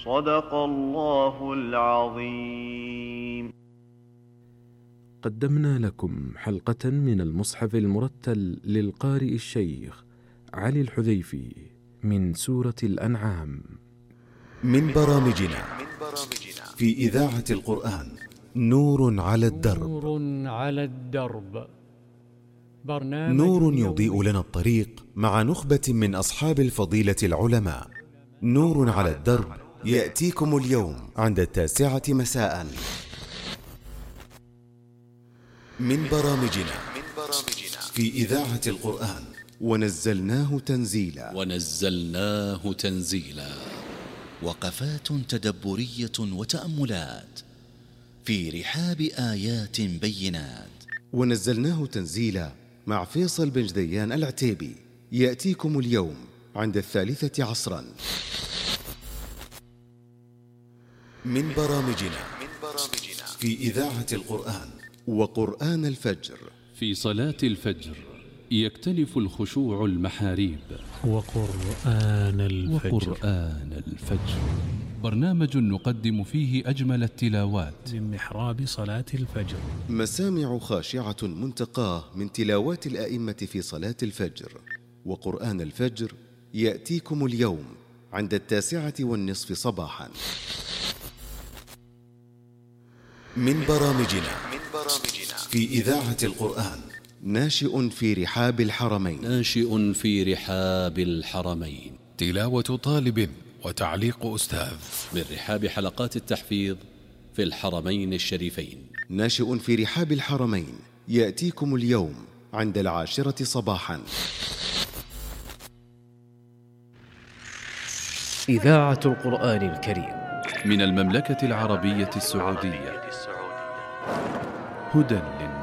صدق الله العظيم. قدمنا لكم حلقة من المصحف المرتل للقارئ الشيخ علي الحذيفي من سورة الأنعام. من برامجنا في إذاعة القرآن نور على الدرب. نور يضيء لنا الطريق مع نخبة من أصحاب الفضيلة العلماء. نور على الدرب يأتيكم اليوم عند 9 مساء. من برامجنا في إذاعة القرآن ونزلناه تنزيلا. وقفات تدبرية وتأملات في رحاب آيات بينات. ونزلناه تنزيلا مع فيصل بن جديان العتيبي يأتيكم اليوم عند 3 عصرا. من برامجنا في إذاعة القرآن وقرآن الفجر. في صلاة الفجر يكتنف الخشوع المحاريب. وقرآن الفجر برنامج نقدم فيه أجمل التلاوات من محراب صلاة الفجر. مسامع خاشعة منتقاه من تلاوات الأئمة في صلاة الفجر. وقرآن الفجر يأتيكم اليوم عند 9:30 صباحا. من برامجنا في إذاعة القرآن ناشئ في رحاب الحرمين. تلاوة طالب وتعليق أستاذ من رحاب حلقات التحفيظ في الحرمين الشريفين. ناشئ في رحاب الحرمين يأتيكم اليوم عند 10 صباحا. إذاعة القرآن الكريم من المملكة العربية السعودية. هدى للناس.